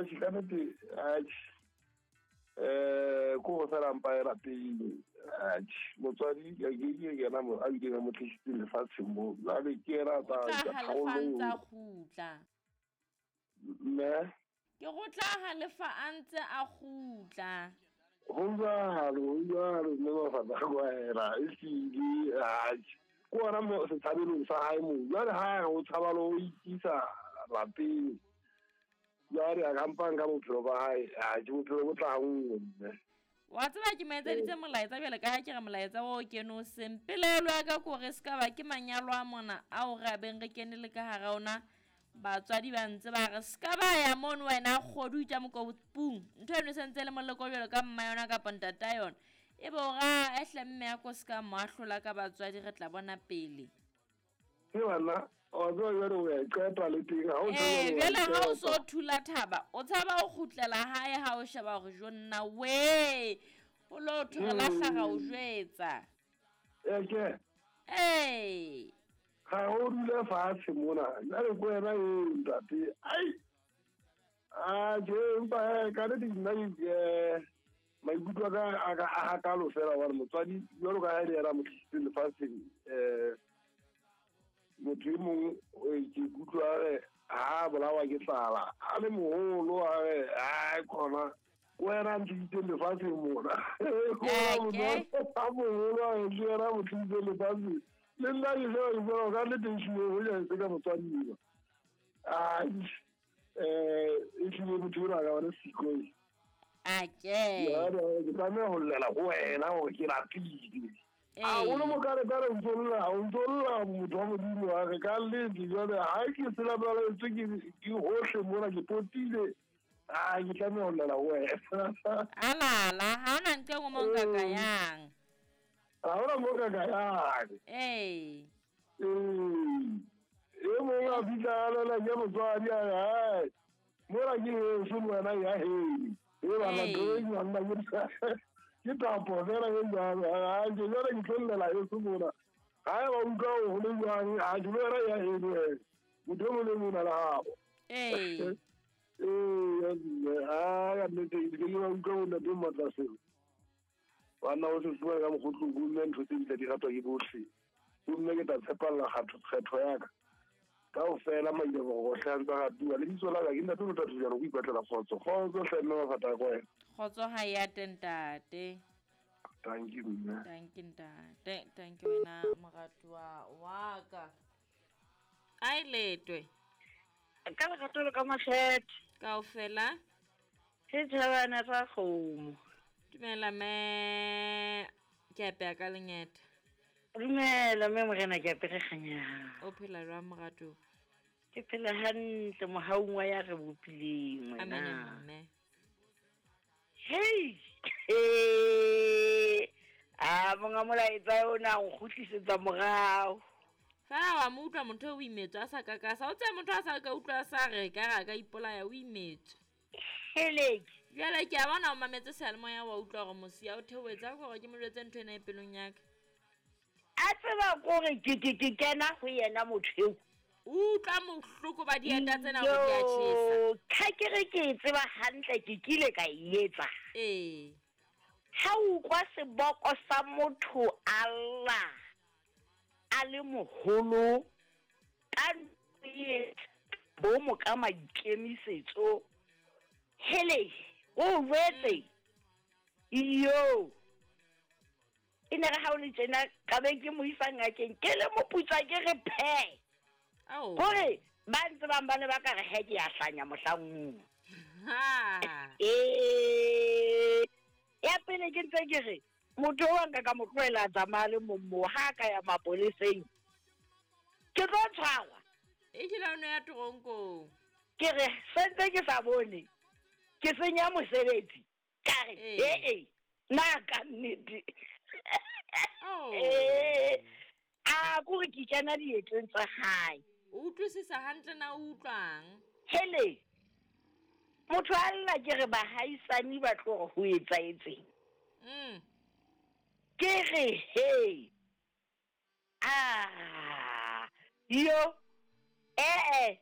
Atjhe, ka nnete, atjhe. Ko go fela mpa e lapeng. Atjhe, motswadi ke ke yena mo a bileng a mo tlisitseng lefatsheng mo. Jwale ke yena a O tla tla etsa halefa a ntse a tharollo. kgutla. Mme Ke go tla halefa a ntse a kgutla. Ho jwalo, ho jwalo, mme mafapha a kwaela, ehlile, atjhe. Ke ona mo setshabelong sa hae moo. Jwale ha re o tshaba le ho ikisa lapeng. Jwale a ka mpa nka bophelo ba hae, atjhe, bophelo bo tla ha nngwe mme. Wa tseba ke mo etseditse molaetsa bjale ka ha ke re molaetsa o kene o seng. Pelaelo ya ka ke hore se ka ba ke manyalo a mona ao re a beng re kene le ka hara ona. Batswadi ba ntse ba re se ka ba ya mono wena kgodu itja mokopung. Ntho eno e sentse e le moleko jwalo ka mma yona kapa ntata yona. Ebe o ra ehle mme ya ko se ka mo ahlola ka batswadi re tla bona pele. Ke bana, wa tseba jwale o ya qeta le teng, ha o Ee, tseba jwale ha o o so qeta. thula thaba, o tshaba ho kgutlela hae ha o sheba hore jo nna we. O lo thwe re lahla ra o jwetsa. Eke. Ee. Ga o dule fatshe mona, jwale ko wena eo ntate. Ai. Atjhe, empa hee, ka nnete nna ke maikutlo a ka a ka a hakalo fela hobane motswadi jwalo ka ha e le yena a mo tlisitseng lefatsheng, motho e mong ke ikutlwa a re ha a bolawa ke tlala, a le moholo a re, ai khona, ko wena a ntlisitseng lefatsheng mona. Ko wena Eke. motho a moholo a re ke yena a mo tlisitseng lefatsheng. Le nna ke sheba ke bona ka nnete ehlile hoja e se ka motswadi enwa. Ai, ehlile motho enwa a ka ba le siko e. Ake. Jwale ke tlameha ho llela ho wena hore ke lapile. Ee. A o le mokarekare o ntso lla, o ntso lla motho wa Modimo wa re ka nnete jwale ha ke se lapaletswe ke hohle mona ke potile. Ah, ke tlameha ho llela ho wena. Alala, ha hona ntho e nngwe mo nka ka yang. Ha hona mo nka ka yang. Ee. Ee. E mong a fihla a lela ke motswadi a re, hai, mona ke heso le wena ya heno. E bana, Ee. ntho e jwang nna ke tapo fela e jwalo. Ha ke jwale ke tlo llela heso mona. Ha eba o utlwa ho le jwang, ha ke le wena ya heno wena. Motho e mong le mong o na le habo. Ee. Ee, ya mme, ha, ka nnete, ke ke ba utlwa bo ntate Matlaseng. Banna o se fuwa ka mokgotlong, bo mme ntho tse di tla di ratwa ke bohle. Bo mme ke tla tshepalla kgetho ya ka. Kaofela maile boroko hle a ntse a ratuwa. Lebitso la ka ke ntate Motlatsi jalo, ko ipatlela kgotso. Kgotso hle mme mafata a kwena. Kgotso ha ya te ntate. Thank you mme. Thank you ntate. Thank you wena moratuwa wa ka. Ai letwe. Ka lerato le ka makgethe. Kaofela. Setjhabana sa kgomo. Dumela mme, ke apeya ka lengeta. Dumela mme morena, ke apere kganyang. O phela jwang moratuwa? Ke phela hantle mohaung wa ya re bopileng wena. Amen mme. Hei! Hey! A monga molaetsa ona o kgutlisetsa morao. Fela wa mo utlwa motho o imetswe a sa kakasa. O tsebe motho a sa ka utlwa a sa re ka re a ka ipolaya o imetswe. Heleke. Jwale ke a bona o mametse seyalemoya wa utlwa hore mosia o theohetse a hore ke mo jwetse ntho ena e pelong ya ka. A tseba kore ke kena ho yena motho eo. O utlwa bohloko ba dieta tsena hore di a tjhesa. Yo, ha ke re ke e tseba hantle, ke kile ka e etsa. Ee. Ha o utlwa seboko sa motho a lla, a le moholo, ka ntho e bo mo ka maikemisetso. Hele, o jwetse. Iyo. E ne re ha o le tjena, ka be ke mo isa ngakeng, ke le moputsa ke re phe. Ao. Hore ba ntse bang ba ne ba ka re he ke ya hlanya mohlang oo. Ha. Ee, ya pele ke ntse ke re, motho o nka ka mo tlohela a tsamaya le mong moo, ha a ka ya mapoleseng, ke tlo tshwarwa. E kile o no ya toronkong. Ke re, sentse ke sa bone, ke senya mosebetsi. Ka re, Ee. ee, na ka nnete. Oh. Ee, a kore ke kena dieteng tsa hae. O utlwisisa hantle na o utlwang? Hele, motho a lla ke re bahaisane ba tlo re ho etsahetseng. Ke re, he. Ah, yo, ee,